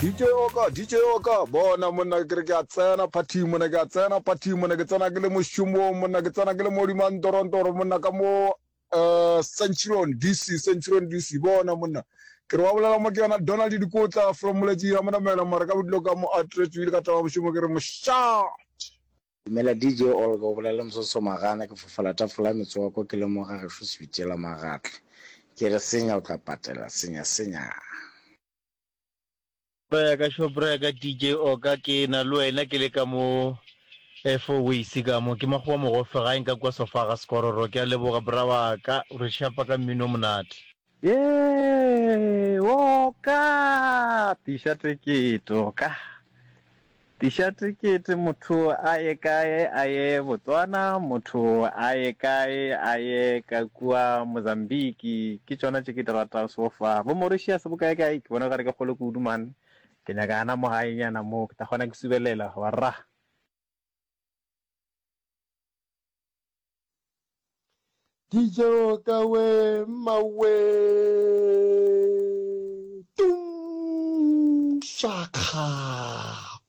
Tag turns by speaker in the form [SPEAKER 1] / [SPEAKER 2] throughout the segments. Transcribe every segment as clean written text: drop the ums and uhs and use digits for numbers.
[SPEAKER 1] DJ Oka, DJ Oka, bona monna ke re ke a tsena phathing monna ke a tsena phathing monna ke tsena ke le mošomong monna ke tsena ke le modimo ntorontoro monna ka mo uh, Centurion DC Centurion DC bona monna ke re wa bolela mo ke yona Donald Dikotla from Moletši ya monamela mara ka bodilo ka mo atretšwile ka taba mošomo ke re mošate
[SPEAKER 2] Dumela DJ Olga, o bolela le Msoso Magana, ke fofela tafola ya metswako ke le mo ga gešo Sebitela Magatla. Ke re senya o tla patela, senya senya.
[SPEAKER 3] Bra ya ka sho bra ya ka DJ Oka ke na le wena ke le ka mo Fourways ka mo ke makgowa mogofe gae nka kua sofa ga Skororo ke a leboga bra wa ka o re shapa ka mmino o monate.
[SPEAKER 4] Yee! Oka! Tiša tekete, oka. Tiša tekete, motho a ye kae? A ye Botswana, motho a ye kae? A ye ka kua Mozambique. Ke tšona tše ke di ratago so far. Bo Mauritius bo kae kae? Ke bona okare ke kgole kudu man. Ke nyaka gana mo gaenyana mo, ke tla kgona ke subelela, warra.
[SPEAKER 5] Dijo ka we mmawe tung shakga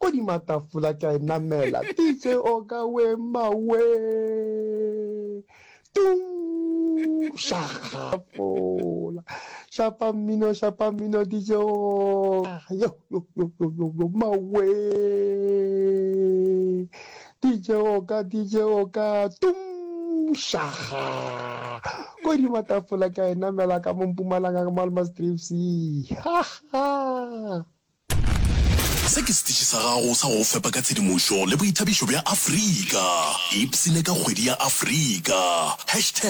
[SPEAKER 5] kodima tafola ke a e namela DJ oka we mmawe tung shakga fola shapa mmino shapa mmino DJ oka yo yo yo yo yo yo mmawe DJ Oka, DJ Oka, tum, shaga. Kodima tafola ke a e namela ka mo Mpumalanga ka Malmastrips. Ha ha.
[SPEAKER 6] Se ke setiši sa gago sa go go fepa ka tshedimošo le boithabišo bja Afrika. Ipshine ka kgwedi ya Afrika. Hashtag.